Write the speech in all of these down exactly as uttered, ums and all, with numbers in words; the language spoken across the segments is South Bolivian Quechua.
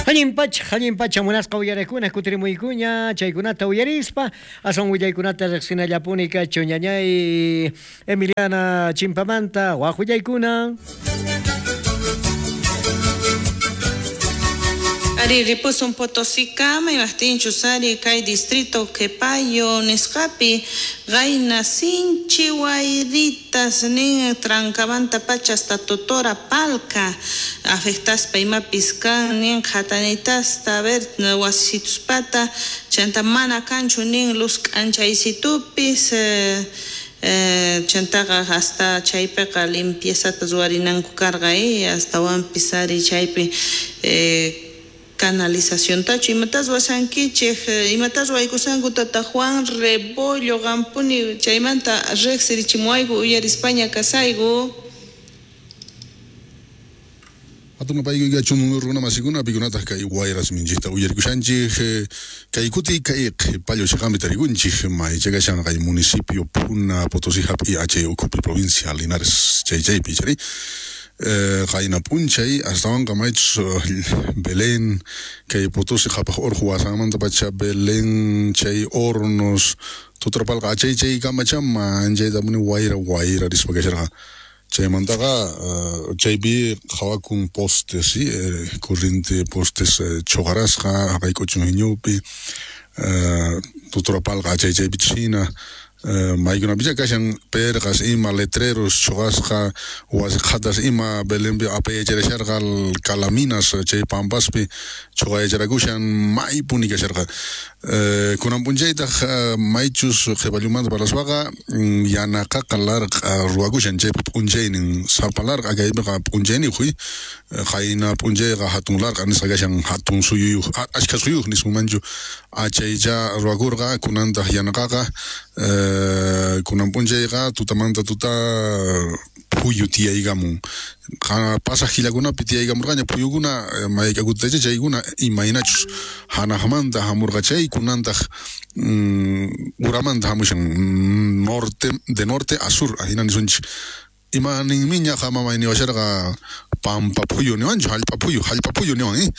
Allin pacha, allin pacha munasqa uyarekuna kutirimuykuña chaykunata uyarispa aswan willaykunata riqsinallapuni kachu ñañay Emiliana Chimpamanta waq willaykuna. Ari ripusun Potosíkama imajtinchus ari kay distrito Qepayo nisqapi qayna sinchi wayritas nin Trancamanta pacha hasta Totora Palca afectaspa imapis kan nin qhatanitasta a ver wasituspata chanta mana kanchu nin luz k'anchaysitupis eh, Eh, chantaqa hasta chaypiqa limpiezata ruwarinanku karqa eh, astawanpis ari chaypi eh, canalización tachu imatas ruwashankichej imatas ruwaykusanku tata Juan Rebollo qampuni chaymanta riqsirichimuwayku uyarispaña kasayku. Hatun paykuykachun runa masikuna pikunataq kay wayras minchikta uyarikushanchik kay kuti kay qhipallo chiqanpi tarikunchik maychakashan kay municipio Puna Potosí hap'i achay ukhupi provincia Linares chay chaypi chari qayna p'unchay astawanqa maychus Belén kay Potosí qhapaq urqu wasanmanta pacha Belén chay Hornos Tutrapalqa achay chay kamacha manchaytapuni wayra wayra rispa kasharqa. Chaymantaqa chaypi qhawakun postes, sí, eh, corriente postes eh, choqarasqa haqayk'uchun hiñupi eh, Tutrapalqa achay chaypi china maykunapicha kashan perqas ima letreros choqasqa wasi qhatas ima Belenpi apayacharasharqa calaminas chay pampaspi choqayacharakushan maypuni kasharqa. Kunan p'unchaytaq maychus qhipallumanta parlaspaqa yanaqaqa larq'a ruwakushan chaypa p'unchaynin sapa larq'a kaypiqa p'unchayniyuq qayna p'unchayqa hatun larq'a nisqa kashan hatun suyuyuq achkha suyuyuq nismanchu achaycha ruwakurqa kunantaq yanaqaqa kunan p'unchayqa tutamanta tuta phuyu tiyaykamun pasaq killakunapi tiyaykamurqaña phuyukuna mayk'akutitacha chaykuna imaynachus hanaqmanta hamurqa chay kunantaq uramanta hamushan norte de norte a sur ajina nisunchik ima ninmiña qamamay niwasharqa pampa phuyu niwanchu hallp'a phuyu hallp'a phuyu niwan eh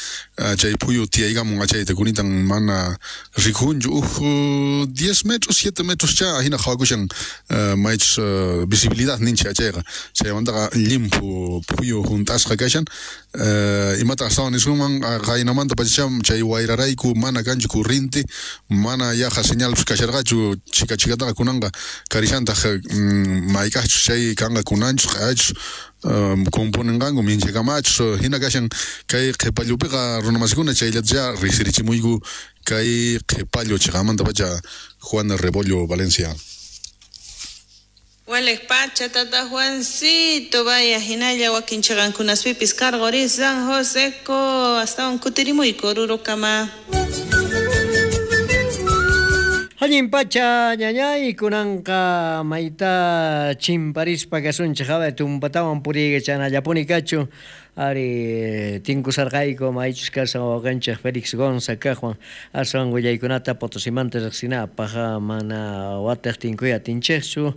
chay phuyu tiyaykamun achayta kunitan mana rikunchu uj diez metros siete metros cha ajina qhawakushan maychus visibilidad ninchik achayqa chaymantaqa llimphu phuyu hunt'asqa kashan imata astawan nisunman qaynamanta pacha chay wayrarayku mana kanchu corriente mana yaqa señalpis kasharqachu chika chikataqa kunanqa karishantaq mayk'aqchus chay kanqa kunanchus q'ayachus componenqanku minchakamachus hina kashan kay qhipallupiqa runamasikuna chayllatacha riqsirichimuyku kay qhipallu chiqamanta pacha Juan Rebollo Valencia. Walej pacha tata Juancito vaya hinalla wakin chiqankunaspipis karquri San Joseco astawan kutirimuyku Orurokama. Allin pacha ñañay kunanqa mayta chimparispa kasunchik hawa tumpatawan puriykachanallapuni kachu ari tinkusarqayku maychus kashan wawqanchik Félix Gonza kaqwan aswan willaykunata Potosimanta riqsinapaq mana wataq tinkuy atinchikchu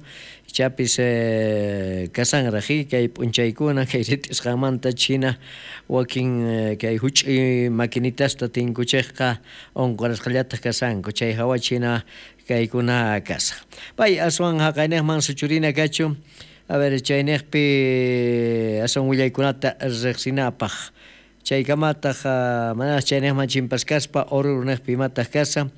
ichapis eh, kasanraq kay p'unchaykuna kay rit'isqanmanta china wakin kay huch'uy maquinitasta tinkuchikqa unqurasqallataq kasanku chay hawa china kaykuna kasaq pay aswan haqayniqman suchurina kachu. A ver, chayniqpi aswan willaykunata riqsinapaq chaykamataq mana chayniqman chimpaskaspa Oruruniqpi imataq kasa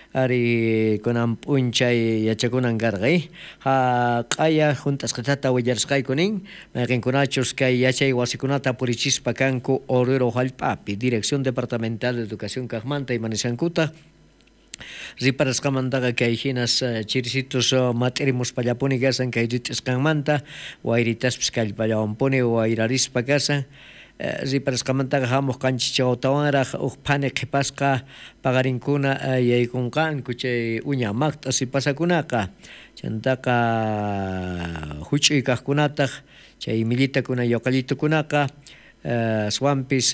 ari kunan p'unchay yachakunan karqa eh ha q'aya hunt'asqatata willarisqayku nin mayqinkunachus kay yachay wasikunata purichispa kanku Oruro hallp'api Dirección Departamental de Educación kaqmanta imanisqankuta riparasqamantaqa kay hinas chirisitus mat'irimuspallapuni kasan kay rit'isqanmanta wayritaspis kallpallawanpuni wayrarispa kasan riparasqamantaqa hamuq qanchis chawtawanraq uj phani qhipasqa paqarinkuna yaykunqanku chay uña maqt'a sipasakunaqa chantaqa huch'uy kaqkunataq chay millitakuna yoqallitukunaqa aswanpis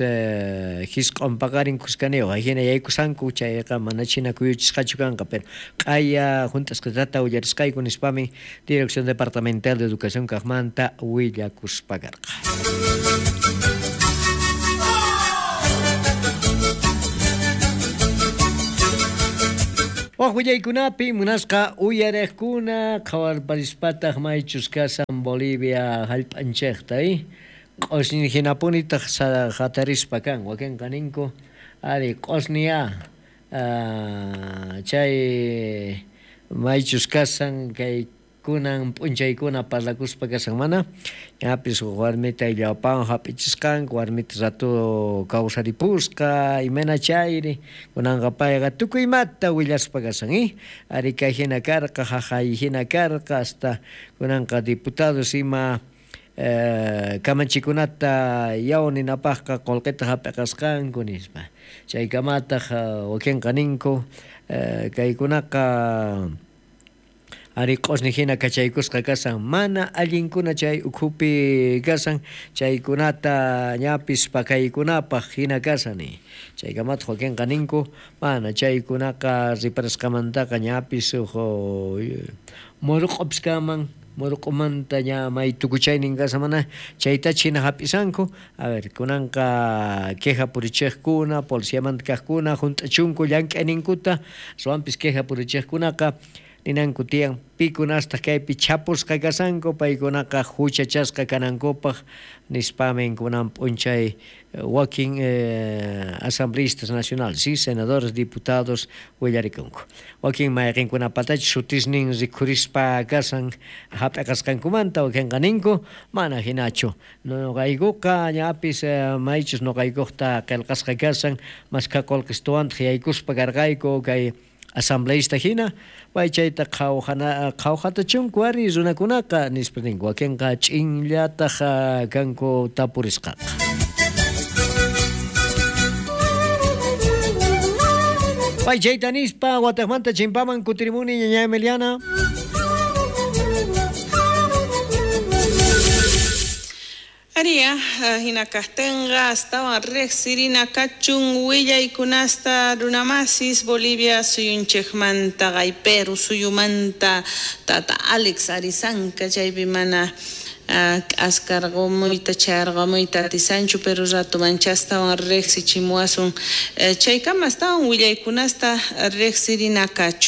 hisq'un paqarin kuskaniyuq hina yaykusanku chayqa mana china kuyuchisqachu kanqa pero q'aya hunt'asqatata willarisqayku nispami Dirección Departamental de Educación kaqmanta willakuspa karqa. Waq willaykunapi munasqa uyariqkuna qhawarparispataq maychus kasan Bolivia hallp'anchikta eh? Q'usñi hinapunitaq hatarispa kan wakinqa ninku ari q'usñiya uh, chay maychus kasan kay kunan p'unchaykuna parlakuspa kasan mana ñapis huk warmita illapawan hap'ichisqanku warmita rato kawsaripusqa imayna chayri kunanqa payqa tukuy imata willaspa kasan eh ari kay hina karqa jaqay hina karqa hasta kunanqa diputados ima eh, kamachikunata yaw ninapaqqa qullqita hap'iqasqanku nispa chaykamataq wakinqa ninku eh, kaykunaqa ari q'usñi hina kachaykusqa kasan mana allinkuna chay ukhupi kasan chaykunata ñapis pakaykunapaq hina kasan chaykamataq wakinqa ninku mana chaykunaqa riparasqamantaqa ñapis huk murq'upis kanman murq'umanta ña may tukuchaynin kasan mana chaytacha hina hap'isanku a ver kunanqa queja purichiqkuna policiamanta kaqkuna hunt'achunku llank'ayninkuta aswanpis queja purichiqkunaqa ninanku tiyan pikunastaq kaypi chapusqa kasanku paykunaqa huchachasqa kanankupaq nispamin kunan p'unchay wakin eh, asambleístas nacionales, ¿sí? Senadores, diputados willarikunku wakin mayqinkunapatachu sutisnin rikhurispa kasan hap'iqasqankumanta wakinqa ninku mana hinachu nuqaykuqa ñapis eh, maychus nuqaykuqta qillqasqa kasan maskha qullqistuwantaq yaykuspa karqayku kay asambleísta hina pay chayta qhawjana qhawjatachunku ari runakunaqa nispa ninku wakinqa ch'inllataq kanku tapurisqaqa. Pay chayta nispa wataqmanta chimpaman kutirimuni ñaña Emiliana. Aria, hina kajtenqa astawan riqsirina kachun willaykunasta runamasis Bolivia suyunchikmanta Perú suyumanta tata Alex Arizanka chaypi mana k'askarqumuyta chayarqamuyta atisanchu pero rato manchastawan riqsichimuwasun chaykama astawan willaykunasta riqsirina kachun.